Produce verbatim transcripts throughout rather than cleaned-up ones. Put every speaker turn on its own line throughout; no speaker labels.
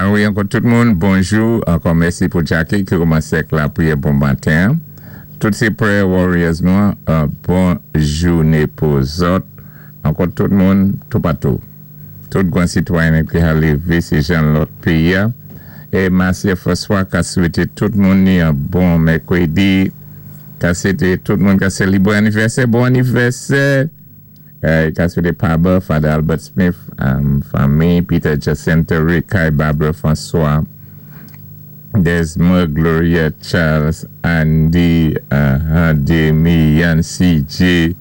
Ah wi, ankò tout moun, bonjou. Ankò mèsi pou Jackie ki koumansé ak lapriyè bon maten. Tout sé prayer warriors nou, euh, bon jouné pou zòt. Ankò tout moun, toupatou. Tout gwan sitwayen ki ka lévé sé jan lòt péyi. É Marcia François ka swété tout moun ni yon bon mèkwédi. Ka swété tout moun ka sélébré anivèsè, bon anivèsè. Euh, ka swété Paba, Father Albert Smith, um, fanmi, Peter Jacinto, Rick, Barbara François, Desmond, Gloria, Charles, Andy, uh, Demi, Yann, C J,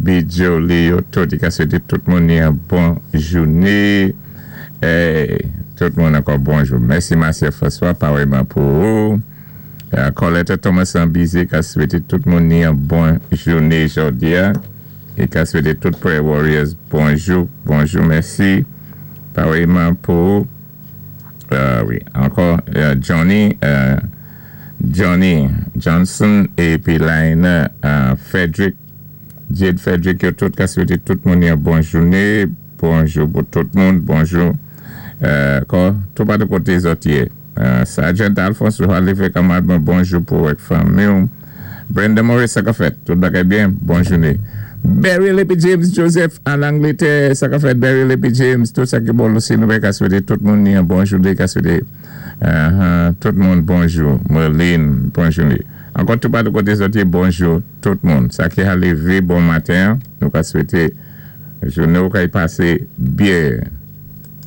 Bijo, Leo, tout, ka swété tout moun yon bon jouné. Eh, tout moun ankò bonjou. Mèsi Marcia François, parèyman pou ou. Euh, Colette Thomas Ambizé, ka swété tout moun yon bon jouné jòdi a. É ka swété tout prayer warriors bonjou, bonjou, mèsi. Parèyman pou, euh, wi, ankò euh, Johnny, euh, Johnny Johnson épi Lina euh, Frederick, Jade Frederick, yo tout ka swété tout moun yon bon jouné, bonjou pou tout moun, bonjou. Euh, ankò, toupatou koté zòt yé. Euh, Sergeant Alphonse, lévé kanmad, bonjou pou ak fanmi. Brenda Morris, sa ka fèt? Tout bagay byen? Bon jouné. Barry Lippy James Joseph an Anglétè, sa ka fèt, Barry Lippy James? Tout sa ki bon osi, nou ka swété tout moun yon bon jouné, ka swété uh, tout moun bonjou. Merlin, bon jouné. Ankò toupatou koté zòt yé, bonjou tout moun. Sa ki ka lévé bon maten, nou ka swété jouné ou ka y pasé byen.